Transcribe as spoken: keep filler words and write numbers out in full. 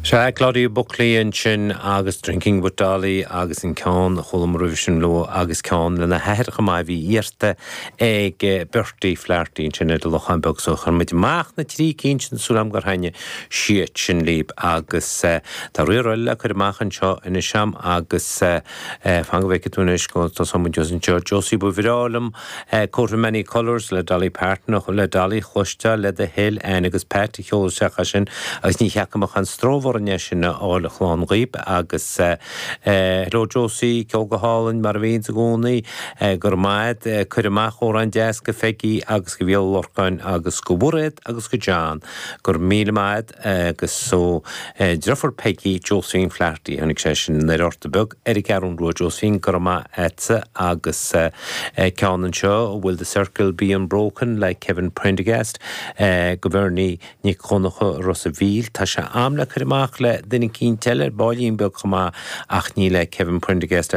Sea Claudia Buckley ansin agus Drinking with Dolly agus an ceann chualamar roimhe sin leo agus ceann lena hathair chomh maith bhí iarrta ag Bertie Flaherty ansin ar Lochán Beag so chuir muid amach na trí cinn sin súil agam gur thaitnigh siad sin libh agus tá riar eile le cur amach anseo anois agam agus fan go bhfeicfidh tú anois go tosóidh muid anseo Josie ba bhreá liom Coat of Many Colours le Dolly Parton le Dolly chloisteáil le do thoil Anne agus Pat a sheol isteach sin agus ní cheapaim ach an strómhar sin a fháil shlán dhaoib agus hello Josie ceol go hálainn mar a bhíonn i gcónaí gur maid cuir amach amhrán deas go Peggy agus go Bhéal Lorcáin agus go Mhairéad agus go John gur míle maith agus so deirfiúr Peggy Josephine Flaherty tháinig sé sin ar Ort Beag ar an gCeathrú Rua Josephine gur maith agatsa agus ceann anseo Will the Circle Be Unbroken le Kevin Prendergast go Bernie Nic Choncha Ros an Mhíl Tá sé am le cur amach le duine eicínt eile bailín beag chomh maith ach ní le Kevin Prendergast